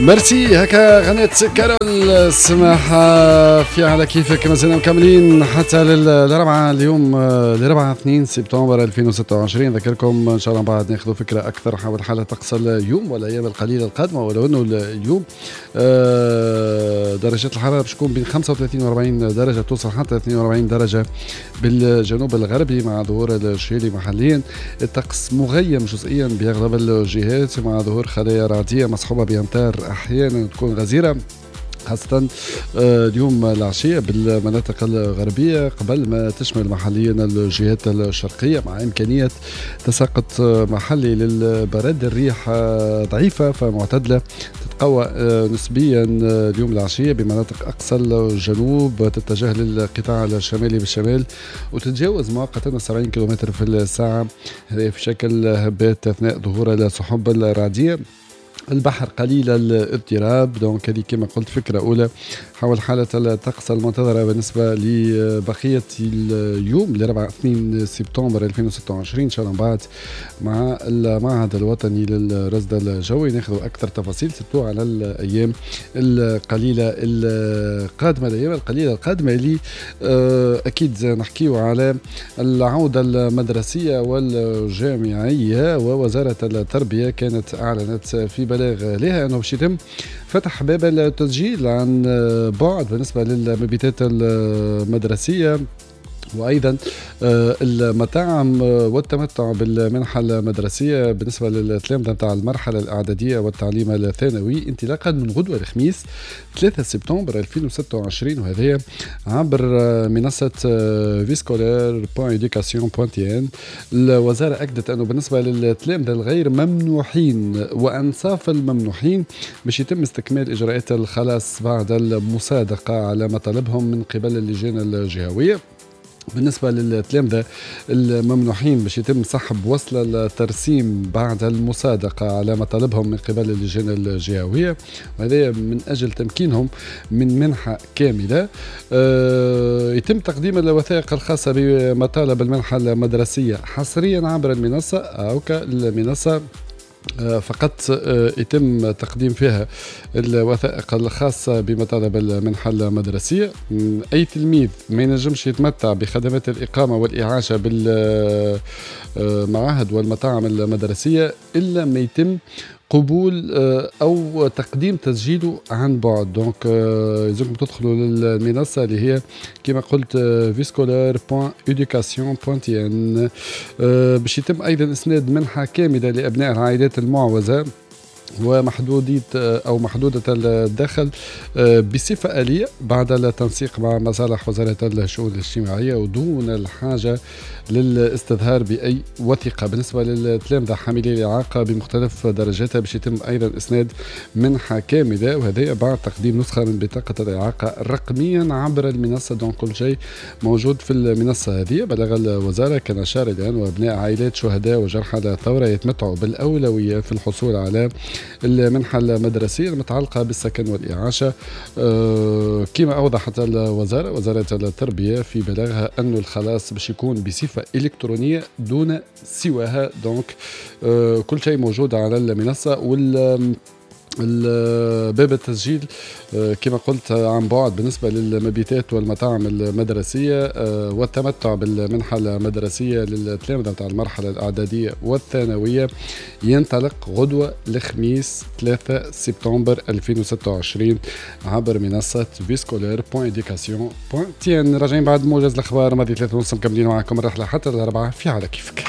ميرسي. هكا غنيت كارول سماحة في على كيفك. مازلنا مكملين حتى للربعة اليوم، لربعة 2 سبتمبر 2026. نذكركم ان شاء الله بعد ناخذ فكرة أكثر حول حالة طقس اليوم والأيام القليلة القادمة، ولو أنه اليوم درجات الحرارة باش تكون بين 35 و 40 درجة، توصل حتى 42 درجة بالجنوب الغربي مع ظهور الشهيلي محليا. الطقس مغيم جزئيا بأغلب الجهات مع ظهور خلايا رعدية مصحوبة بأمطار أحيانا تكون غزيرة، خاصة اليوم العشية بالمناطق الغربية قبل ما تشمل محليا الجهات الشرقية، مع إمكانية تساقط محلي للبرد. الريح ضعيفة فمعتدلة، تتقوى نسبيا اليوم العشية بمناطق أقصى الجنوب، تتجه للقطاع الشمالي بالشمال وتتجاوز مؤقتا 70 كم في الساعة، هذا في شكل هبات أثناء ظهور السحب الرعدية. البحر قليل الاضطراب. donc هذه كما قلت فكرة أولى حول حالة الطقس المنتظرة بالنسبة لبقية اليوم لربعة 2 سبتمبر 2026. إن شاء الله بعد مع المعهد الوطني للرصد الجوي ناخذ أكثر تفاصيل surtout على الأيام القليلة القادمة، الأيام القليلة القادمة اللي أكيد نحكيو على العودة المدرسية والجامعية. ووزارة التربية كانت أعلنت في بلاغ لها أنه باش يتم فتح باب التسجيل عن بعد بالنسبة للمبيتات المدرسية وايضا المطاعم والتمتع بالمنحه المدرسية بالنسبة للتلامذه نتاع المرحلة الاعدادية والتعليم الثانوي انطلاقا من غدوه الخميس 3 سبتمبر 2026، وهذا عبر منصة viscolaire.education.tn. الوزارة اكدت انه بالنسبة للتلامذه الغير ممنوحين وانصاف الممنوحين باش يتم استكمال اجراءات الخلاص بعد المصادقة على مطالبهم من قبل اللجان الجهويه. بالنسبة للتلامذة الممنوحين باش يتم سحب وصل الترسيم بعد المصادقة على مطالبهم من قبل اللجان الجهوية، وهذا من أجل تمكينهم من منحة كاملة. يتم تقديم الوثائق الخاصة بمطالب المنحة المدرسية حصريا عبر المنصة أو المنصة فقط يتم تقديم فيها الوثائق الخاصة بمطالب المنحة المدرسية. أي تلميذ ما ينجمش يتمتع بخدمات الإقامة والإعاشة بالمعاهد والمطاعم المدرسية إلا ما يتم قبول او تقديم تسجيله عن بعد. donc يلزمكم تدخلوا للمنصه اللي هي كما قلت viscolaire.education.tn. باش يتم ايضا اسناد منحه كاملة لابناء العائلات المعوزه ومحدودية أو محدودة الدخل بصفة آلية بعد التنسيق مع مصالح وزارة الشؤون الاجتماعية ودون الحاجة للاستظهار بأي وثيقة. بالنسبة للتلامذة حاملي الإعاقة بمختلف درجاتها باش يتم أيضا إسناد منحة كاملة، وهذا بعد تقديم نسخة من بطاقة الإعاقة رقميا عبر المنصة. donc كل شيء موجود في المنصة هذه. بلغ الوزارة كان أشار إلى أن أبناء عائلات شهداء وجرحى الثورة يتمتعوا بالأولوية في الحصول على المنحة المدرسية المتعلقة بالسكن والإعاشة. كما أوضحت الوزارة، وزارة التربية، في بلاغها أن الخلاص باش يكون بصفة إلكترونية دون سواها. donc كل شيء موجود على المنصة، وال باب التسجيل كما قلت عن بعد بالنسبة للمبيتات والمطاعم المدرسية والتمتع بالمنحة المدرسية للتلامذة نتاع المرحلة الإعدادية والثانوية ينطلق غدوة الخميس 3 سبتمبر 2026 عبر منصة viscolaire.education.tn. راجعين بعد موجز الأخبار ماضي 3:30، مكملين معكم الرحلة حتى 4 في على كيفك.